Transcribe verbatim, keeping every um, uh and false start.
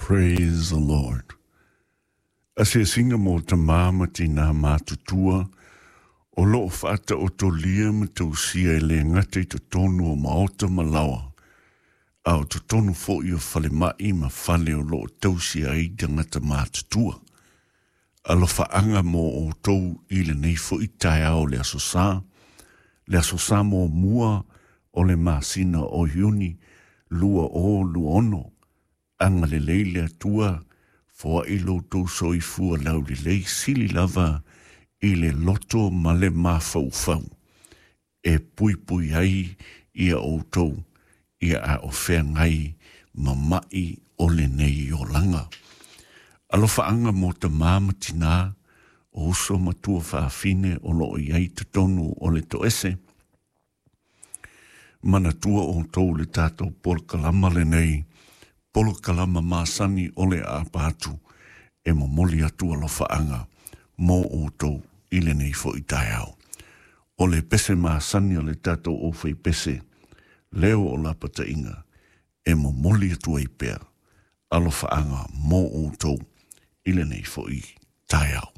Praise the Lord. Asiasiga mo tamā ma tinā matutua o loo faataotolia ma tausia e lē gata i totonu o maota ma laoa, a o totonu foʻi o falemaʻi ma fale o loo tausia ai tagata matutua. Alofaaga mo outou i lenei foʻi taeao le aso sā, le aso sā muamua o le masina o Iuni lua o lua ono. Agalelei le Atua, foaʻi lo outou soifua laulelei, sili lava i le loto ma le mafaufau e puipui ai ia outou ia a o feagai ma maʻi o lenei olaga. Alofaaga mo tamā ma tinā, o uso ma tuafafine o loo i ai totonu o le toese. Manatua outou le tatou polokalama lenei, polokalama masani o le aapa atu, e momoli atu alofaaga mo outou i lenei foʻi taeao. O le pese masani o le tatou aufaipese, Leo o Lapataiga, e momoli atu ai pea alofaaga mo outou i lenei foʻi taeao.